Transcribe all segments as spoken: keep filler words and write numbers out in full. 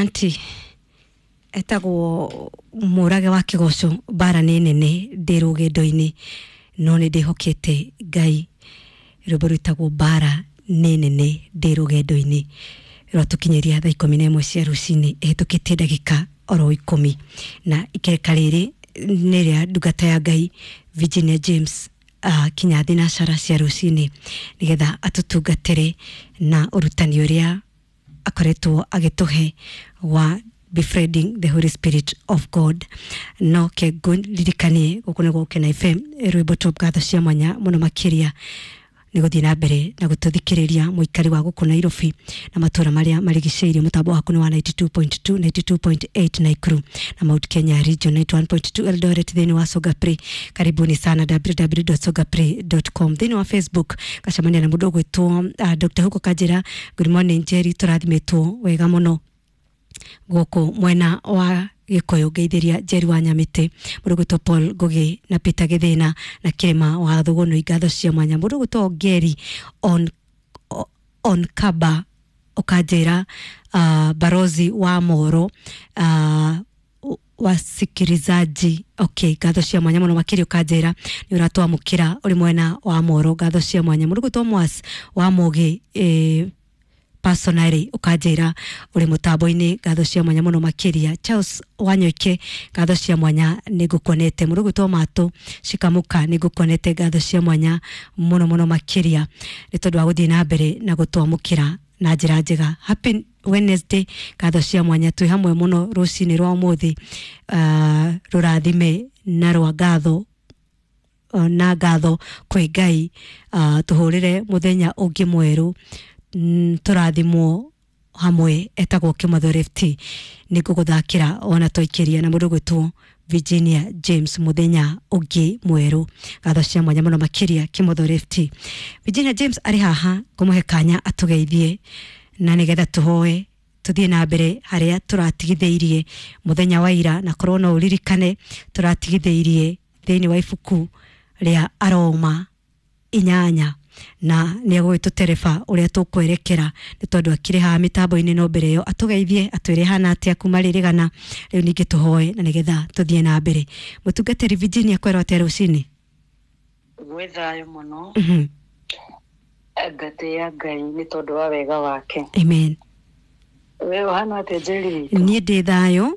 Asanti. Etagwo Mũrage wa Kĩgoco, mbara nĩ nene ndĩ rũgendo-inĩ no nĩ ndĩhokete Ngai. Rwĩmbo rwĩtagwo mbara nĩ nene ndĩ rũgendo-inĩ rwatũkinyĩria thaa ikũmi na ĩmwe cia rũcinĩ ĩhĩtũkĩtie ndagĩka oro ikũmi, na ikereka rĩrĩ nĩ rĩa ndungata ya Ngai Virginia James uh, kinya thinacara cia rũcinĩ nĩgetha atũtungatĩre na ũrutani ũrĩa akoretwo agĩtũhe wa befriending the Holy Spirit of God. No ke ngũririkanie gũkũ nĩ Gũkena F M, rwĩmbo top ngatho cia mwanya mũno makĩria nĩ gũthiĩ na mbere na gũtũthikĩrĩria mũikari wa gũkũ Nairobi na matũra marĩa marigicĩirie. Mũtambo waku nĩ wa ninety two point two, ninety two point eight Nakuru na Mount Kenya region, ninety one point two Eldoret thĩinĩ wa Songa Play. Karibuni sana w w w dot songa play dot com. Thĩinĩ wa Facebook gacemania na mũndũ ũgwĩtwo uh, Doctor Hugo Kanjĩra. Good morning Jerry, tũrathimĩtwo wega mũno gũkũ mwena wa Gĩkũyũ. Ngeithĩria Jerry wa Nyamĩtĩ, mũndũ ũgwĩtwo Paul Ngũgĩ na Peter Gĩthĩna na Kĩrĩma wa Thũgũnũ, ngatho cia mwanya. Mũndũ ũgwĩtwo Ngeri on, on Kaba ũkanjĩra uh, barozi wa Moro uh, wasikilizaji. Okay, ngatho cia mwanya mũno makĩria ũkanjĩra nĩ ũratwamũkĩra ũrĩ mwena wa Moro, ngatho cia mwanya. Mũndũ ũgwĩtwo Mwas wa Mũgĩ eh, personally ukanjira uri mutambo-ini, ngatho cia mwanya muno makiria. Charles Wanyoike, ngatho cia mwanya nĩngũkuonete. Mũndũ ũgwĩtwo Matũ Cikamuka, nĩngũkuonete, ngatho cia mwanya muno muno makiria nĩ tondũ wa gũthiĩ na mbere na gũtwamũkĩra na njĩra njega. Happy Wednesday, ngatho cia mwanya, twĩ hamwe mũno rũcinĩ rwa ũmũthĩ, uh, rũrathime na rwa ngatho na ngatho kwĩ Ngai, uh, tũhũrĩre mũthenya ũngĩ mwerũ, tũrathimwo hamwe. Etagwo Kĩmotho Left, nĩngũgũthakĩra ona twaikĩria na mũndũ ũgwĩtwo Virginia James mũthenya ũngĩ mwerũ, ngatho cia mwanya mũno makĩria Kĩmotho Left. Virginia James arĩ haha ngũmũhe kanya atũgeithie na nĩgetha tũhoe tũthiĩ na mbere harĩa tũratigithĩirie mũthenya wa ira, na korwo no ũririkane tũratigithĩirie thĩinĩ wa ibuku rĩa Aroma inyanya, na nĩ egũgĩtũtereba ũrĩa tũkwerekera nĩ tondũ akĩrĩ haha mĩtambo-inĩ. No mbere ĩyo atũgeithie atwĩre hana atĩa kuma rĩrĩgana rĩu, ningĩ tũhoe na nĩgetha tũthiĩ na mbere. Mũtungatĩri Virginia, kwerwo atĩa rũcinĩ? Gwĩ thayũ mũno, ngatĩĩa Ngai nĩ tondũ wa wega wake. Amen. We ũhana atĩa Njeri? Niĩ ndĩ thayũ.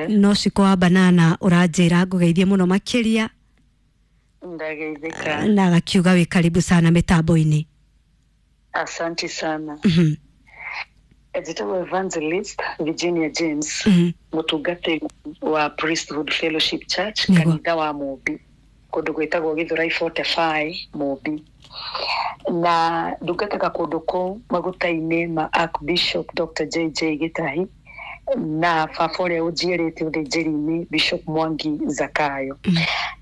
No Ciko wa Banana ũranjĩra ngũgeithie mũno makĩria. Ndageithĩka. Na agakiuga wĩ karibu sana mĩtambo-inĩ. Asante sana. Mm-hmm. Njĩtagwo Evangelist Virginia James, mũtungatĩri wa Priesthood Fellowship Church, kanitha wa Mũmbi, kũndũ gwĩtagwo Gĩthũrai forty-five Mũmbi, na ndungataga kũndũ kũu maguta-inĩ ma Archbishop Doctor J J Gĩtahi na baba ũrĩa ũnjiĩrĩte ũthĩnjĩri-inĩ Bishop Mwangi Zakayo.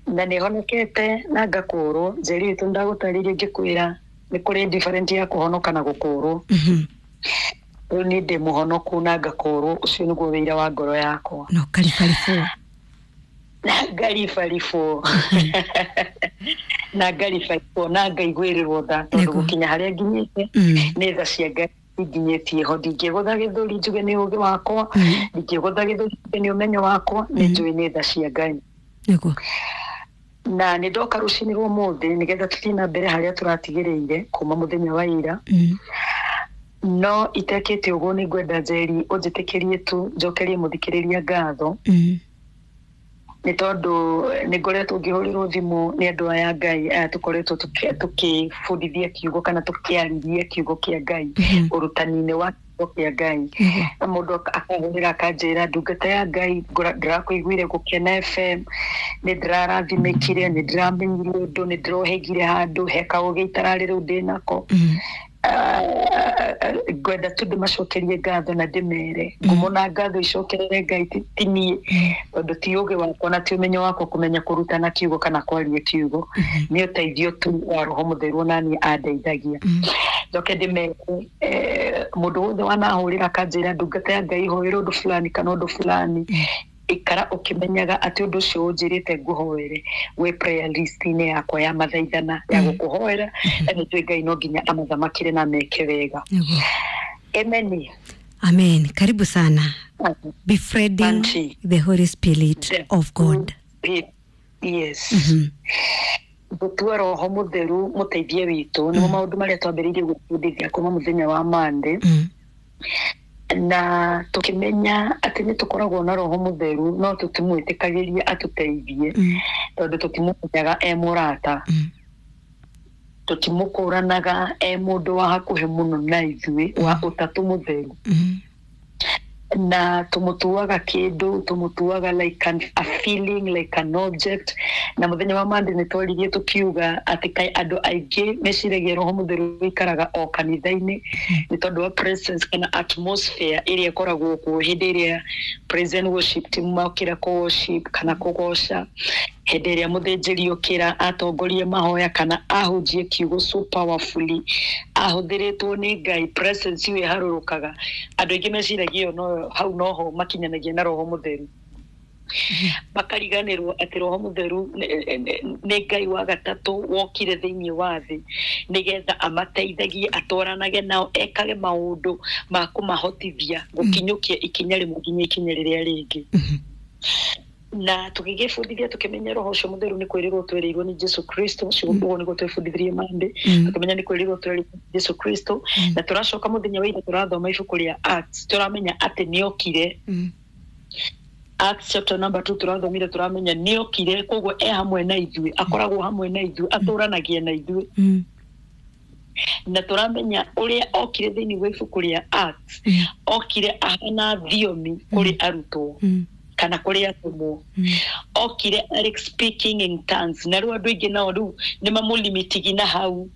Na nĩ honokete na ngakũrwo. Njeri witũ ndagũtarĩirie ngĩkwĩra nĩ kũrĩ different ya kũhonoka na gũkũrwo. Rĩu niĩ ndĩ mũhonoku na ngakũrwo, ũcio nĩguo wĩira wa ngoro yakwa. No karibaribũ. Na ngaribaribũ. Na ngaribaribũ na ngaiguĩrĩrwo tha tondũ gũkinya harĩa nginyĩte nĩ tha cia Ngai nginyĩtie ho. Ndingĩgũtha gĩthũri njuge nĩ ũũgĩ wakwa, ndingĩgũtha gĩthũri njuge nĩ ũmenyo wakwa, nĩ njũĩ nĩ tha cia Ngai. Nĩguo. Na nĩ ndoka rũcinĩ rwa ũmũthĩ nĩgetha tũthiĩ na mbere harĩa tũratigĩrĩire kuma mũthenya wa ira. No itekĩte ũguo nĩ ngwenda Njeri ũnjĩtĩkĩrie tu njokerie mũthikĩrĩria ngatho, nĩ tondũ nĩ ngoretwo ngĩhũrĩrwo thimũ nĩ andũ aya Ngai aya tũkoretwo tũkĩbundithia kiugo kana tũkĩarĩria kiugo kĩa Ngai ũrutani-inĩ wa kiugo kĩa Ngai, na mũndũ akahũrĩra akanjĩra ndungata ya Ngai ndĩrakũiguire Gũkena F M, nĩ ndĩrarathimĩkire, nĩ ndĩramenyire ũndũ, nĩ ndĩrohĩgire handũ he kaũgĩ itararĩ rĩu ndĩnako. Ngwenda tu ndĩmacokerie ngatho na ndĩmere ngumo na ngatho icokerere Ngai, ti niĩ tondũ ti ũũgĩ wakwa na ti ũmenyo wakwa kũmenya kũrutana kiugo kana kwaria kiugo, nĩ ũteithio tu wa Roho Mũtheru ona niĩ andeithagia. Njoke ndĩmere mũndũ wothe wanahũrĩra akanjĩra ndungata ya Ngai hoera ũndũ fulani kana ũndũ fulani, ikara ũkĩmenyaga atĩ ũndũ ũcio ũnjĩrĩte ngũhoere wĩ prayer list-inĩ yakwa ya mathaithana ya gũkũhoera, na nĩ njũĩ Ngai no nginya amathamakĩre na meke wega. Amen. Amen. Karibu sana. Befriending Auntie. the Holy Spirit The of God. Spirit. Yes. Mhm. Gũtua roho mũtheru mũteithie witũ nĩmo maũndũ marĩa twambĩrĩirie gwĩbundithia kuma mũthenya wa Monday. Mm. Na tũkĩmenya atĩ nĩ tũkoragwo na roho mũtheru no tũtimwĩtĩkagĩria atũteithie Mm. tondũ tũtimũmenyaga e mũrata, Mm. tũtimũkũranaga e mũndũ wa hakuhĩ mũno na ithuĩ wa ũtatũ mũtheru, Mm. na tũmũtuaga kĩndũ, tũmũtuaga like an, a feeling, like an object. Na mũthenya wa Monday nĩ twaririe tũkiuga atĩ kaĩ andũ aingĩ meciragia roho mũtheru ũikaraga o kanitha-inĩ nĩ tondũ wa presence kana atmosphere ĩrĩa ĩkoragwo kuo hĩndĩ ĩrĩa praise and worship team mokĩra kũ worship kana kũgoca, hĩndĩ ĩrĩa mũthĩnjĩri okĩra atongorie mahoya kana ahunjie kiugo so powerfully ahũthĩrĩtwo nĩ Ngai, presence ĩyo ĩharũrũkaga. Andũ aingĩ meciragia ĩyo no hau noho makinyanagia na roho mũtheru, makariganĩrwo atĩ roho mũtheru nĩ- nĩ nĩ Ngai wa gatatũ wokire thĩinĩ wa thĩ nĩgetha amateithagie, atwaranage nao, ekage maũndũ ma kũmahotithia gũkinyũkia ikinya rĩmwe nginya ikinya rĩrĩa rĩngĩ. Mhm. Na tũgĩgĩbundithia tũkĩmenya roho ũcio mũtheru nĩ kwĩrĩrwo twereirwo nĩ Jesu Kristo. Ũcio ũguo nĩguo twebundithirie Monday. Mm. Tũkĩmenya nĩ kwĩrĩrwo twereirwo nĩ Jesu Kristo, na tũracoka mũthenya wa ira tũrathoma ibuku rĩa Acts, tũramenya atĩ nĩokire. Mm. Acts chapter number two tũrathomire, tũramenya nĩokire, koguo e hamwe na ithuĩ, akoragwo hamwe na ithuĩ, atũranagia na ithuĩ. Mm. Na tũramenya ũrĩa okire thĩinĩ wa ibuku rĩa Acts, Mm. okire ahana thiomi kũrĩ arutwo Mm. kana kũrĩ atũmwo, Mm. okire arĩ speaking in tongues, na rĩu andũ aingĩ nao rĩu nĩ mamũlimitigi na hau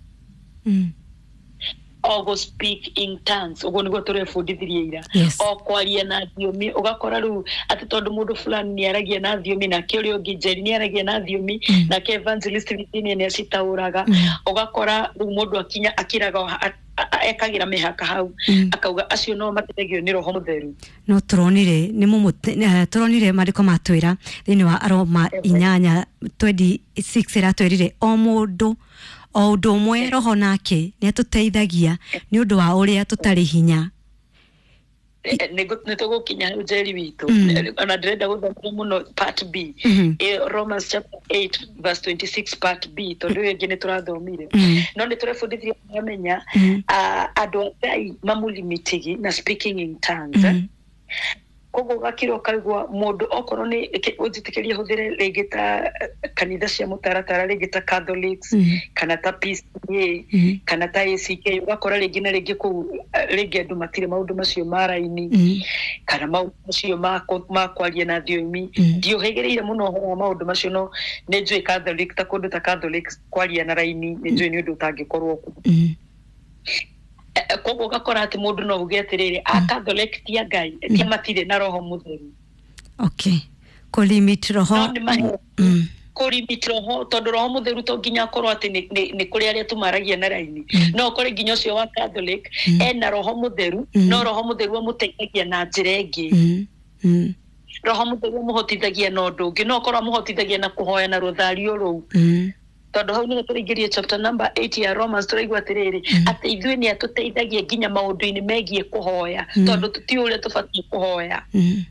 Mm. o go speak in tongues. Ũguo nĩguo tũrebundithirie ira. Yes. O kwaria na thiomi, ũgakora rĩu atĩ tondũ mũndũ fulani nĩ aragia na thiomi, nake ũrĩa ũngĩ Njeri nĩ aragia na thiomi, Mm. nake evangelist Virginia nĩ acitaũraga, Mm. ũgakora rĩu mũndũ akinya akiraga a- a- ekagĩra mĩhaka hau, Mm. akauga acio no mateithagio nĩ roho mũtheru. No turonire nĩ mũmũte eh, turonire maandĩko matwĩra thĩinĩ wa Aroma inyanya twenty six ĩratwĩrire o mũndũ o ũndũ ũmwe roho nake nĩ atũteithagia nĩ ũndũ wa ũrĩa tũtarĩ hinya. Nĩ tũgũkinya hau Njeri witũ. Mm. Ona ndĩrenda gũthomera mũno part B. Mhm. Eh, Romans chapter eight verse twenty-six part B, tondũ ĩyo ĩngĩ nĩ tũrathomire, Mm. no nĩ tũrebundithirie tũramenya Mm. ah, andũ a Ngai mamũlimitigi na speaking in tongues, eh. Mm. Koguo ũgakira ũkaigua mũndũ okorwo nĩ ũnjĩtĩkĩrie hũthĩre rĩngĩ ta eh, kanitha cia mũtaratara, rĩngĩ ta Catholics Mm. kana ta P C A Mm. kana ta A C K, ũgakora rĩngĩ na rĩngĩ kũu eh, rĩngĩ andũ matirĩ maũndũ macio ma raini Mm. kana maũndũ macio ma kũ- ma kwaria na thiomi. Mm. Ndiũhĩgĩrĩire mũno ũhoro wa maũndũ macio, no nĩ njũĩ Catholic, ta kũndũ ta Catholic kwaria na raini nĩ njũĩ nĩ ũndũ ũtangĩkorwo kuo. Mm. Eh, eh, koguo ũgakora atĩ mũndũ no uge atĩrĩrĩ, a Catholic ti a Ngai, ti matirĩ na roho mũtheru. Okay, kũlimit roho. No nĩ mahe Mm. kũrimit roho, tondũ roho mũtheru to nginya akorwo atĩ nĩ- nĩ nĩ kũrĩ arĩa tumaragia na raini, no ũkore nginya ũcio wa Catholic Mm. ena roho mũtheru, Mm. no roho mũtheru amũteithagia na njĩra ĩngĩ. Mm. Mm. Roho mũtheru amũhotithagia na ũndũ ũngĩ, no ũkorwo amũhotithagia na kũhoya na rũthario rũu, Mm. tondũ hau nĩho tũraingĩria chapter number eight ya Romans, tũraigua atĩrĩrĩ atĩ ithuĩ nĩ atũteithagia nginya maũndũ-inĩ megiĩ kũhoya, Mm. tondũ tũtiũĩ ũrĩa tũbatiĩ kũhoya. Mm.